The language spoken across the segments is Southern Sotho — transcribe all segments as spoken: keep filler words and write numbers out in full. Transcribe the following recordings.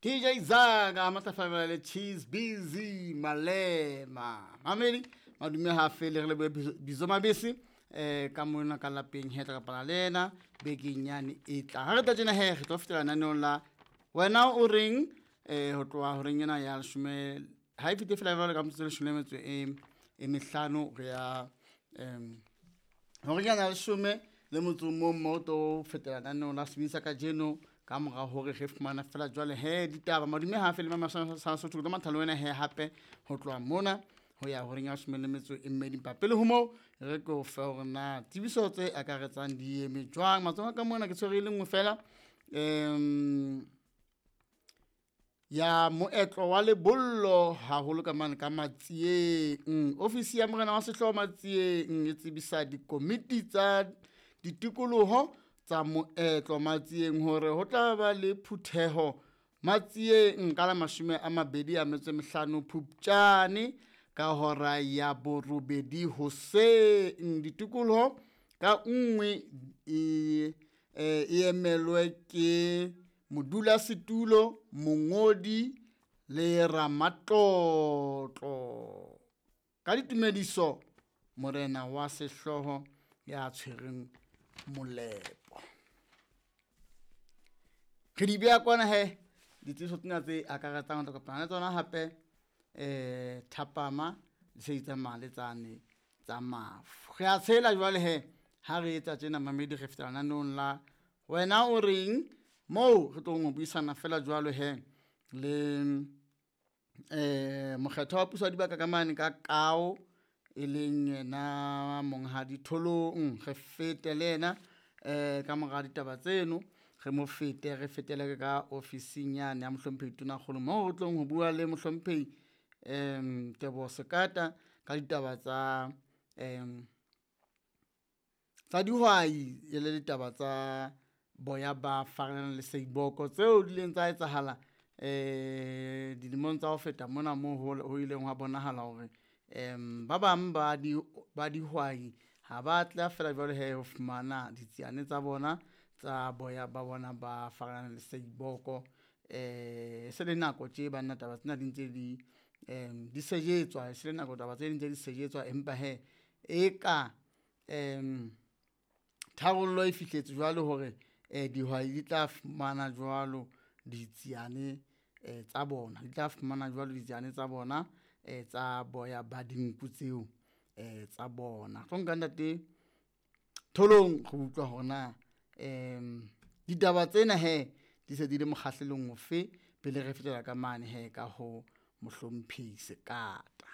D J Zaga matlafala le Cheese Busy Malema. Mamedi madume ha fele re le bizo mabese eh ka mona ka lapeng he tla kopana le ena bekeng yane e tla. Ha re tla tjena he re tlo fetela naneong la wena o reng eh ho tloha horeng ena ya leshome ha e fete fela jwale ka metsotso e leshome le metso e e mehlano re ya em horeng ya leshome le motso o mong mo to fetela naneong la sebedisa kajeno ka mora hore re fumana fela jwale he ditaba madume ha fele mama sa Sotho le mathalo wena he hape ho tloha mona ho ya horeng ya leshome le metso e mmedi. Empa pele ho moo re ke o fe hore na tsebiso tse akaretsang di eme jwang. Matsoho ka mona ke tshwere e le nngwe fela em ya moetlo wa lebollo haholo ka mane ka Matsieng. Ofisi ya morena wa sehlooho Matsieng e tsebisa dikomiti tsa ditikoloho tsa moetlo Matsieng hore ho tla ba le phutheho Matsieng ka la mashome a mabedi a metso e mehlano Phupjane ka hora ya borobedi hoseng. Ditikoloho ka nngwe e e emelwe ke modulasetulo, mongodi le ramatlotlo. Ka ditumediso morena wa sehlooho ya tshwereng molepo. Re di beha kwana he ditsebiso tsena tse akaretsang ho tla kopana le tsona hape eh thapama di se di tsamaya le tsane tsa mafu. Re a tshela jwale he ha re etsa tjena mamedi re fetela naneong la wena o reng moo re tlong ho buisana fela jwalo he le eh mokgetho wa puso wa dibaka ka mane ka Kao e leng yena monghadi Tholong. Re fete le yena eh ka mora ditaba tseno re mo fete re fetele ka ofising yane ya mohlomphehi Tonakgolo moo re tlong ho bua le mohlomphehi em Teboho Sekata ka ditaba tsa em tsa dihwai e le ditaba tsa boya ba faranang le seiboko tseo di ileng tsa etsahala eh dilemong tsa ho feta mona moo ho ileng hwa bonahala hore em ba bang ba di ba dihwai ha ba tla fela jwale he ho fumana ditsiane tsa bona tsa boya ba bona ba faranang le seiboko. Eh se le nako tje banna taba tsena di ntse di em di sejetswa, se le nako taba tse ding tse di sejetswa, empa he e ka em tharollo e fihletse jwalo hore eh dihwai di tla fumana jwalo ditsiane eh tsa bona, di tla fumana jwalo ditsiane tsa bona eh tsa boya ba dinku tseo eh tsa bona. Tlo nka ntate Tholong go utlwa hore na em ditaba tsena he di se di le mokgahlelong ofe pele re fetela ka mane he ka ho mohlomphehi Sekata.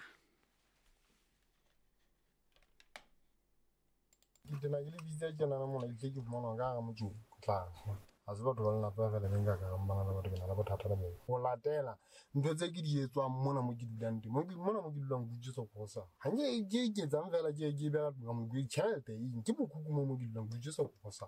Ke tena ke le bitsa tjenana mona, ke tle ke fumana ka hara motsoko tlase. Ha se batho ba lelapa feela be nka ka re bana le batho ke na le bothata le bona. Ho latela ntho tse ke di etswang mona mo ke dulang teng, mo ke mona mo ke dulang ke utswetsa kosa. Ha nke ke iketsang feela ke ke beha ka mo ke tjhelete eng, ke bokuku mo mo ke dulang ke utswetsa kosa.